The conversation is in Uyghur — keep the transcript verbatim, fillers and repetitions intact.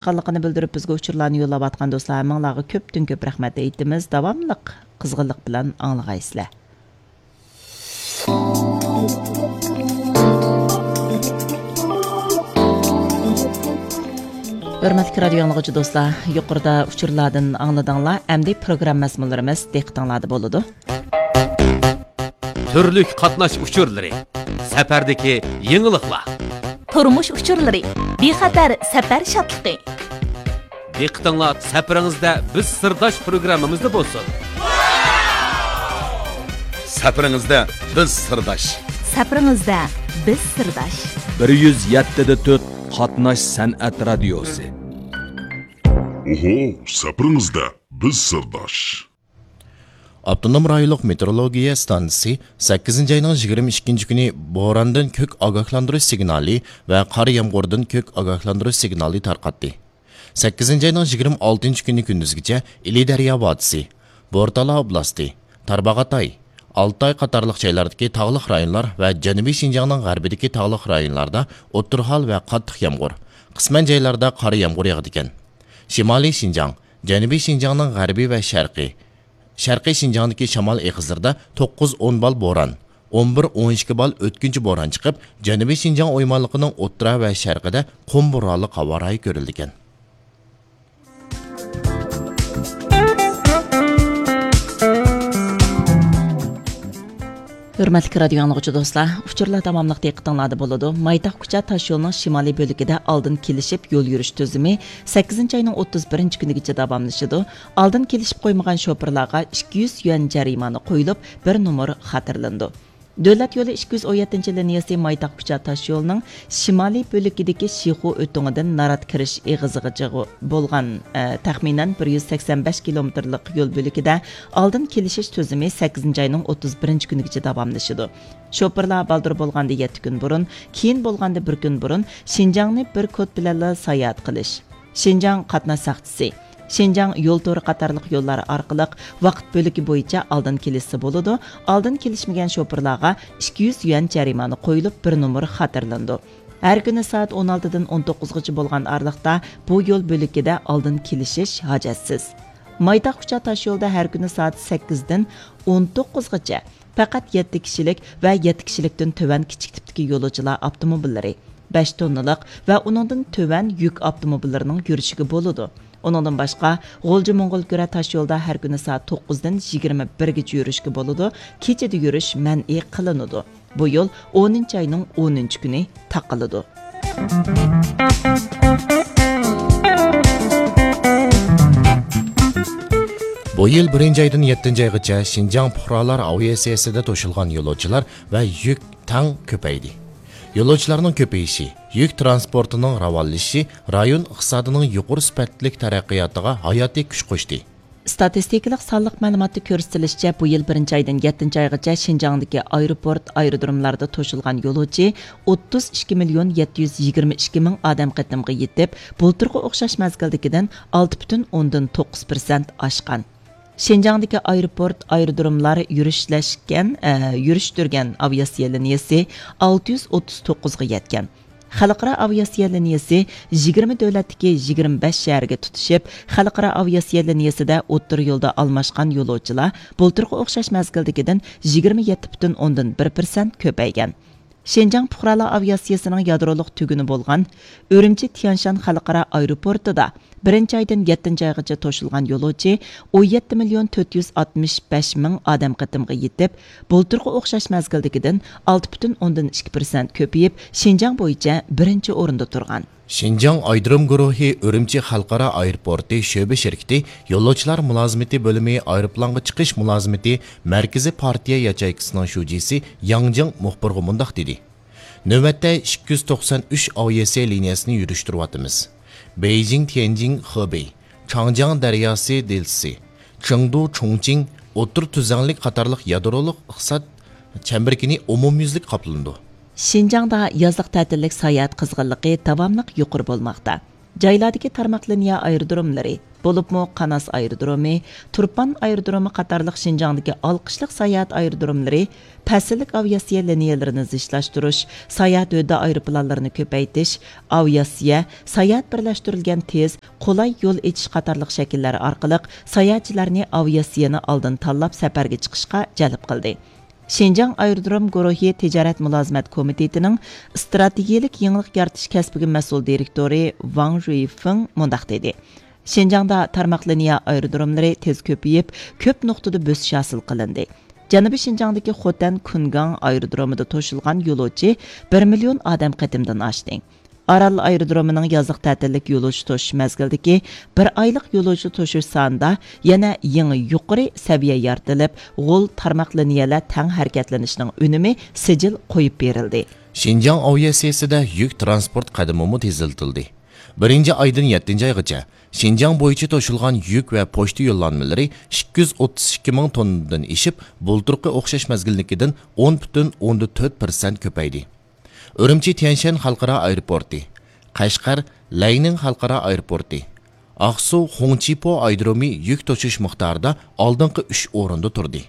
قانلىقىنى بىلدۈرۈپ، بىزگە ئۇچۇرلارنى يوللاۋاتقان دوستلار ھەممىڭلارغا كۆپتىن كۆپ رەھمەت ئېيتىمىز. داۋاملىق قىزغىنلىق بىلەن ئاڭلىغايسىلەر. ھۆرمەتلىك رادىيو ئاڭلىغۇچى دوستلار، يۇقىرىدا ئۇچۇرلاردىن ئاڭلىدىڭلار. ئەمدى پروگرامما مەزمۇنلىرىمىز دىققىتىڭلاردا بولىدۇ. تۈرلۈك قاتناش ئۇچۇرلىرى، سەپەردىكى يېڭىلىقلار. تۇرمۇش ئۇچۇرلىرى، بىخەتەر سەپەر شادلىقى. دىققىتىڭلار سەپىرىڭىزدە بىز سىرداش پروگراممىمىزدا بولسۇن. سەپىرىڭىزدە بىز سىرداش. سەپىرىڭىزدە بىز سىرداش. بىر يۈز يەتتە دە تۆت قاتناش سەنئەت رادىيوسى. ئوھو، سەپىرىڭىزدە بىز سىرداش. ئاپتونوم رايونلۇق مېتېئورولوگىيە ئىستانسىسى سەككىزىنچى ئاينىڭ يىگىرمە ئىككىنچى كۈنى بوراندىن كۆك ئاگاھلاندۇرۇش سىگنالى ۋە قار يامغۇردىن كۆك ئاگاھلاندۇرۇش سىگنالى تارقاتتى. سەككىزىنچى ئاينىڭ يىگىرمە ئالتىنچى كۈنى كۈندۈزگىچە ئىلى دەريا ۋادىسى، بورتالا ئوبلاستى، تارباغاتاي، ئالتاي قاتارلىق جايلاردىكى تاغلىق رايونلار ۋە جەنۇبىي شىنجاڭنىڭ غەربىدىكى تاغلىق رايونلاردا ئوتتۇرا ھال ۋە قاتتىق يامغۇر، قىسمەن جايلاردا قارا يامغۇر ياغىدىكەن. شىمالىي شىنجاڭ، جەنۇبىي شىنجاڭنىڭ غەربى ۋە شەرقى، شەرقىي شىنجاڭدىكى شامال ئېغىزلىرىدا توققۇز ئون بال بوران، ئون بىر ئون ئىككى بال ئۆتكۈنچى بوران چىقىپ، جەنۇبىي شىنجاڭ ئويمانلىقىنىڭ ئوتتۇرا ۋە شەرقىدە قۇم بورانلىق ھاۋا رايى كۆرۈلىدىكەن. ھۆرمەتلىك رادىيو ئاڭلىغۇچى دوستلار، ئۇچۇرلار داۋاملىق دىققىتىڭلاردا بولىدۇ. مايتاق كۇچا تاشيولىنىڭ شىمالىي بۆلىكىدە ئالدىن كېلىشىپ يول يۈرۈش تۈزۈمى سەككىزىنچى ئاينىڭ ئوتتۇز بىرىنچى كۈنىگىچە داۋاملىشىدۇ. ئالدىن كېلىشىپ قويمىغان شوپۇرلارغا ئىككى يۈز يۈەن جەرىمانە قويۇلۇپ، بىر نومۇر خاتىرىلىنىدۇ. دۆلەت يولى ئىككى يۈز ئون يەتتىنچى لىنىيەسى مايتاق كۇچا تاشيولىنىڭ شىمالىي بۆلىكىدىكى شىخۇ ئۆتۈڭىدىن نارات كىرىش ئېغىزىغىچە بولغان، ئە، تەخمىنەن بىر يۈز سەكسەن بەش كىلومېتىرلىق يول بۆلىكىدە ئالدىن كېلىشىش تۈزۈمى سەككىزىنچى ئاينىڭ ئوتتۇز بىرىنچى كۈنىگىچە داۋاملىشىدۇ. شوپۇرلار بالدۇر بولغاندا يەتتە كۈن بۇرۇن، كېيىن بولغاندا بىر كۈن بۇرۇن شىنجاڭنى بىر كود بىلەنلا ساياھەت قىلىش، شىنجاڭ قاتناش ساقچىسى، شىنجاڭ يول تورى قاتارلىق يوللار ئارقىلىق ۋاقىت بۆلىكى بويىچە ئالدىن كېلىشسە بولىدۇ. ئالدىن كېلىشمىگەن شوپۇرلارغا ئىككى يۈز يۈەن جەرىمانە قويۇلۇپ، بىر نومۇر خاتىرىلىنىدۇ. ھەر كۈنى سائەت ئون ئالتىدىن ئون توققۇزغىچە بولغان ئارىلىقتا بۇ يول بۆلىكىدە ئالدىن كېلىشىش ھاجەتسىز. مايتاق كۇچا تاشيولىدا ھەر كۈنى سائەت سەككىزدىن ئون توققۇزغىچە پەقەت يەتتە كىشىلىك ۋە يەتتە كىشىلىكتىن تۆۋەن كىچىك تىپتىكى يولۇچىلار ئاپتوموبىللىرى، بەش توننىلىق ۋە ئۇنىڭدىن تۆۋەن يۈك ئاپتوموبىللىرىنىڭ يۈرۈشىگە بولىدۇ. ئۇنىڭدىن باشقا، غۇلجا موڭغۇلكۈرە تاشيولىدا ھەر كۈنى سائەت توققۇزدىن يىگىرمە بىرگىچە يۈرۈشكە بولىدۇ، كېچىدە يۈرۈش مەنئى قىلىنىدۇ. بۇ يول ئونىنچى ئاينىڭ ئونىنچى كۈنى تاقىلىدۇ. بۇ يىل بىرىنچى ئايدىن يەتتىنچى ئايغىچە شىنجاڭ پۇقرالار ئاۋىئاتسىيەسىدە توشۇلغان يولۇچىلار ۋە يۈك تەڭ كۆپەيدى. يولۇچىلارنىڭ كۆپىيىشى، يۈك تىرانسپورتىنىڭ راۋانلىشىشى رايون ئىقتىسادىنىڭ يۇقىرى سۈپەتلىك تەرەققىياتىغا ھاياتىي كۈچ قوشتى. ئىستاتىستىكىلىق سانلىق مەلۇماتتا كۆرسىتىلىشىچە، بۇ يىل بىرىنچى ئايدىن يەتتىنچى ئايغىچە شىنجاڭدىكى ئايروپورت، ئايرودروملاردا توشۇلغان يولۇچى ئوتتۇز ئىككى مىليون يەتتە يۈز يىگىرمە ئىككى مىڭ ئادەم قېتىمغا يېتىپ، بۇلتۇرقى ئوخشاش مەزگىلدىكىدىن ئالتە پۈتۈن ئوندىن توققۇز پىرسەنت ئاشقان. شىنجاڭدىكى ئايروپورت، ئايرودروملار يۈرۈشلەشكەن، ئە، يۈرۈشتۈرگەن ئاۋىئاتسىيە لىنىيەسى ئالتە يۈز ئوتتۇز توققۇزغا يەتكەن. خەلقئارا ئاۋىئاتسىيە لىنىيەسى يىگىرمە دۆلەتتىكى يىگىرمە بەش شەھەرگە تۇتىشىپ، خەلقئارا ئاۋىئاتسىيە لىنىيەسىدە ئوتتۇرا يولدا ئالماشقان يولۇچىلار بۇلتۇرقى ئوخشاش مەزگىلدىكىدىن يىگىرمە يەتتە پۈتۈن ئوندىن بىر پىرسەنت كۆپەيگەن. شىنجاڭ پۇقرالار ئاۋىئاتسىيەسىنىڭ يادرولۇق تۈگۈنى بولغان ئۈرۈمچى تيەنشان خەلقئارا ئايروپورتىدا بىرىنچى ئايدىن يەتتىنچى ئايغىچە توشۇلغان يولۇچى ئون يەتتە مىليون تۆت يۈز ئاتمىش بەش مىڭ ئادەم قېتىمغا يېتىپ، بۇلتۇرقى ئوخشاش مەزگىلدىكىدىن ئالتە پۈتۈن ئوندىن ئىككى پىرسەنت كۆپىيىپ، شىنجاڭ بويىچە بىرىنچى ئورۇندا تۇرغان. شىنجاڭ ئايرودروم گۇرۇھى ئۈرۈمچى خەلقئارا ئايروپورتى شۆبە شىركىتى يولۇچىلار مۇلازىمىتى بۆلۈمى ئايروپىلانغا چىقىش مۇلازىمىتى مەركىزىي پارتىيە ياچېيكىسىنىڭ شۇجىسى ياڭ جىڭ مۇخبىرغا مۇنداق دېدى. نۆۋەتتە ئىككى يۈز توقسان ئۈچ ئاۋىئاتسىيە لىنىيەسىنى يۈرۈشتۈرۈۋاتىمىز. بېيجىڭ، تيەنجىڭ، خېبېي، چاڭجياڭ دەرياسى دېلتىسى، چېڭدۇ، چۇڭچىڭ ئوتتۇرا تۈزلەڭلىك قاتارلىق يادرولۇق ئىقتىساد چەمبىرىكىنى ئومۇميۈزلۈك قاپلىنىدۇ. شىنجاڭدا يازلىق تەتىللىك ساياھەت قىزغىنلىقى داۋاملىق يۇقىرى بولماقتا. جايلاردىكى تارماق لىنىيە ئايرودروملىرى، بولۇپمۇ قاناس ئايرودرومى، تۇرپان ئايرودرومى قاتارلىق شىنجاڭدىكى ئالقىشلىق ساياھەت ئايرودروملىرى پەسىللىك ئاۋىئاتسىيە لىنىيەلىرىنى زىچلاشتۇرۇش، ساياھەت ھۆددە ئايروپىلانلىرىنى كۆپەيتىش، ئاۋىئاتسىيە، ساياھەت بىرلەشتۈرۈلگەن تېز، قولاي يول ئېچىش قاتارلىق شەكىللەر ئارقىلىق ساياھەتچىلەرنى ئاۋىئاتسىيەنى ئالدىن تاللاپ سەپەرگە چىقىشقا جەلپ قىلدى. شىنجاڭ ئايرودروم گۇرۇھى تىجارەت مۇلازىمەت كومىتېتىنىڭ ئىستراتېگىيەلىك يېڭىلىق يارىتىش كەسپىگە مەسئۇل دىرېكتورى ۋاڭ جۈيفېڭ مۇنداق دېدى: شىنجاڭدا تارماق لىنىيە ئايرودروملىرى تېز كۆپىيىپ، كۆپ نۇقتىدا بۆسۈش ھاسىل قىلىندى. جەنۇبىي شىنجاڭدىكى خوتەن كۇنگاڭ ئايرودرومىدا توشۇلغان يولۇچى بىر مىليون ئادەم قېتىمدىن ئاشتى. ئارال ئايرودرومىنىڭ يازلىق تەتىللىك يولۇچى توشۇش مەزگىلىدىكى بىر ئايلىق يولۇچى توشۇش سانىدا يەنە يېڭى يۇقىرى سەۋىيە يارىتىلىپ، غول تارماق لىنىيەلەر تەڭ ھەرىكەتلىنىشىنىڭ ئۈنۈمى سىجىل قويۇپ بېرىلدى. شىنجاڭ ئاۋىئاتسىيىسىدە يۈك تىرانسپورت قەدىمىمۇ تېزلىتىلدى. بىرىنچى ئايدىن يەتتىنچى ئايغىچە شىنجاڭ بويىچە توشۇلغان يۈك ۋە پوچتا يوللانمىلىرى ئىككى يۈز ئوتتۇز ئىككى مىڭ توننىدىن ئېشىپ، بۇلتۇرقى ئوخشاش مەزگىلنىڭكىدىن ئون پۈتۈن ئوندىن تۆت پىرسەنت كۆپەيدى. ئۈرۈمچى تيەنشەن خەلقئارا ئايروپورتى، قەشقەر لەينىڭ خەلقئارا ئايروپورتى، ئاقسۇ خۇڭچىپو ئايرودرومى يۈك توشۇش مىقدارىدا ئالدىنقى ئۈچ ئورۇندا تۇردى.